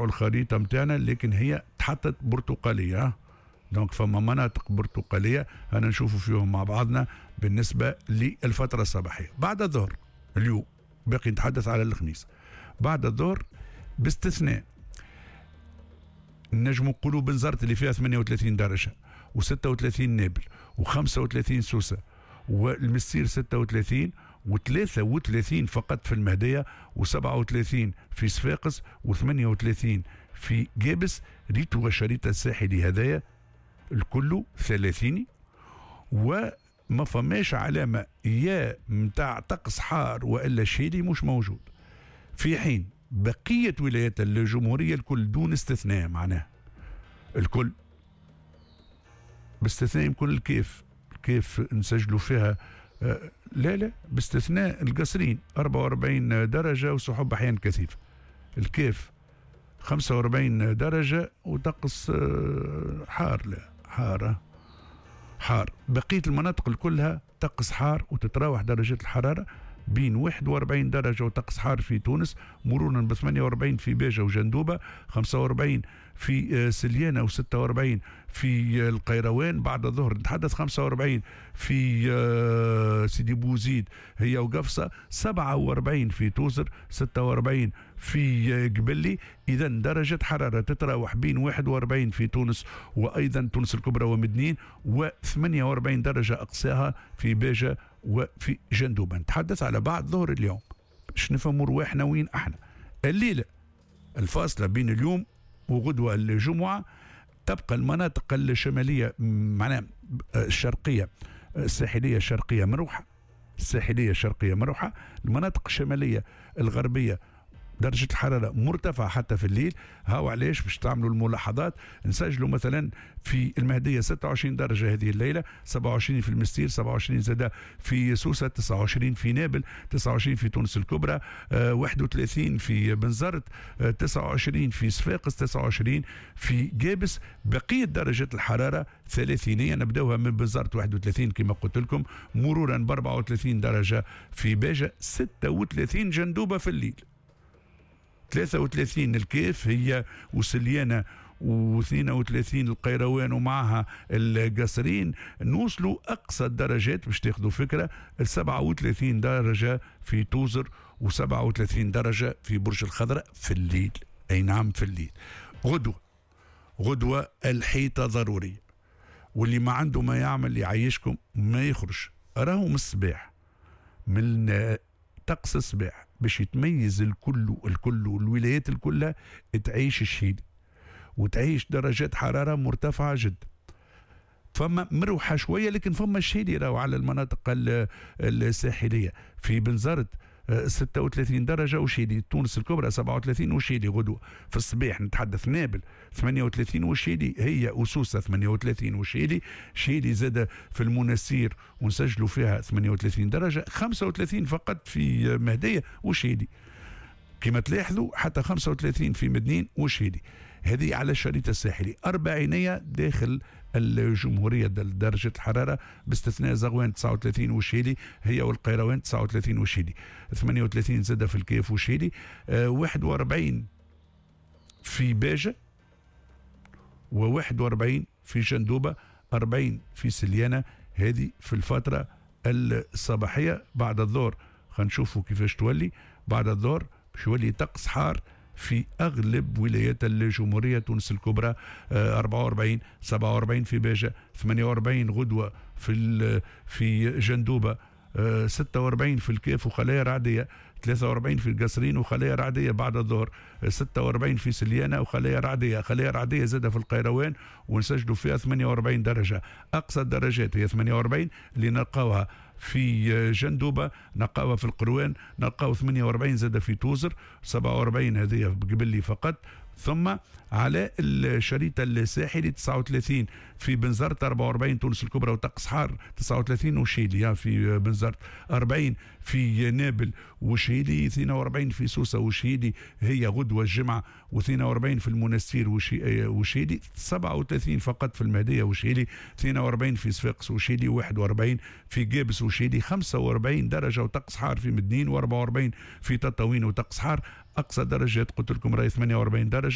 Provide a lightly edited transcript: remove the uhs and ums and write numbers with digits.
الخريطة نتاعنا، لكن هي تحطت برتقاليه، donc فما مناطق برتقاليه انا نشوفوا فيهم مع بعضنا بالنسبة للفترة الصباحية. بعد الظهر اليوم، باقي نتحدث على الخميس، بعد الظهر باستثناء نجم نقولوا بنزرت اللي فيها 38 درجه و36 نابل و35 سوسة والمستير 36 و33 فقط في المهدية و37 في صفاقس و38 في قابس. ريتو الشريط الساحلي هذايا الكل ثلاثيني، وما فماش علامة يا متاع طقس حار وإلا شيلي مش موجود، في حين بقية ولايات الجمهورية الكل دون استثناء، معناها الكل باستثناء يمكن الكاف، الكاف نسجلوا فيها لا لا، باستثناء القصرين 44 درجة وسحب أحيانا كثيفة، الكاف 45 درجة وطقس حار، لا حار حار. بقية المناطق كلها طقس حار وتتراوح درجات الحرارة بين 41 درجة وطقس حار في تونس، مرورا ب 48 في باجة وجندوبة، 45 في سليانة و46 في القيروان. بعد الظهر نتحدث 45 في سيدي بوزيد هي وقفصة، 47 في توزر، 46 في قبلي. إذا درجة حرارة تتراوح بين 41 في تونس وأيضا تونس الكبرى ومدنين، و48 درجة أقصاها في باجة وفي جندوبة. نتحدث على بعد ظهر اليوم باش نفهموا رواحنا وين احنا. الليلة الفاصلة بين اليوم وغدوة الجمعة تبقى المناطق الشمالية، معناها الشرقية، الساحلية الشرقية مروحة، الساحلية الشرقية مروحة، المناطق الشمالية الغربية درجة الحرارة مرتفعة حتى في الليل. هاو علاش باش تعملوا الملاحظات. نسجلوا مثلا في المهدية 26 درجة هذه الليلة، 27 في المستير، 27 زادة في سوسة، 29 في نابل، 29 في تونس الكبرى، 31 في بنزرت، 29 في صفاقس، 29 في قابس. بقية درجة الحرارة ثلاثينية، نبداوها من بنزرت 31 كما قلت لكم، مرورا ب 34 درجة في باجة، 36 جندوبة في الليل، 33 الكاف هي وسليانة، و32 القيروان ومعها القصرين. نوصلوا أقصى الدرجات باش تاخذوا فكرة 37 درجة في توزر و37 درجة في برج الخضراء في الليل. أي نعم في الليل. غدوة الحيطة ضرورية، واللي ما عنده ما يعمل يعيشكم ما يخرج. راهو من الصباح، من طقس الصباح باش يتميز الكل، الكل والولايات الكلها تعيش الشيل وتعيش درجات حرارة مرتفعة جدا. فما مروحة شوية لكن فما الشيلي راهو على المناطق الساحلية. في بنزرت 36 درجة وشيلي، تونس الكبرى 37 وشيلي غدوة في الصباح. نتحدث نابل 38 وشيلي، هي وسوسة 38 وشيلي، شيلي زاد في المنسير ونسجلوا فيها 38 درجة، 35 فقط في مهدية وشيلي. كما تلاحظوا حتى 35 في مدنين وشيلي. هذه على الشريط الساحلي. أربعينية داخل الجمهورية درجة الحرارة باستثناء زغوان 39 وشيلي هي والقيروان 39 وشيلي، 38 زادة في الكاف وشيلي، 41 في باجة و41 في جندوبة، 40 في سليانة. هذه في الفترة الصباحية. بعد الظهر خلينا نشوفوا كيفاش تولي. بعد الظهر باش يولي طقس حار في أغلب ولايات الجمهورية. تونس الكبرى 44، 47 في باجة، 48 غدوة في جندوبة، 46 في الكاف وخلايا رعدية، 43 في القصرين وخلايا رعدية بعد الظهر، 46 في سليانة وخلايا رعدية، خلايا رعدية زادة في القيروان ونسجلوا فيها 48 درجة. أقصى الدرجات هي 48 اللي نلقاوها في جندوبة، نلقاوها في القروان، نلقاو 48 زادة في توزر، 47 هذه قبلي فقط. ثم على الشريط الساحلي 39 في بنزرت، 44 تونس الكبرى وطقس حار، 39 وشيلي في بنزرت، 40 في نابل وشيلي، 42 في سوسة وشيلي هي غدوة الجمعة، و42 في المنستير وشيلي، 37 فقط في المهدية وشيلي، 42 في صفاقس وشيلي، 41 في قابس وشيلي، 45 درجة وطقس حار في مدنين، و44 في تطاوين وطقس حار. أقصى درجات قلت لكم راهي 48 درجة.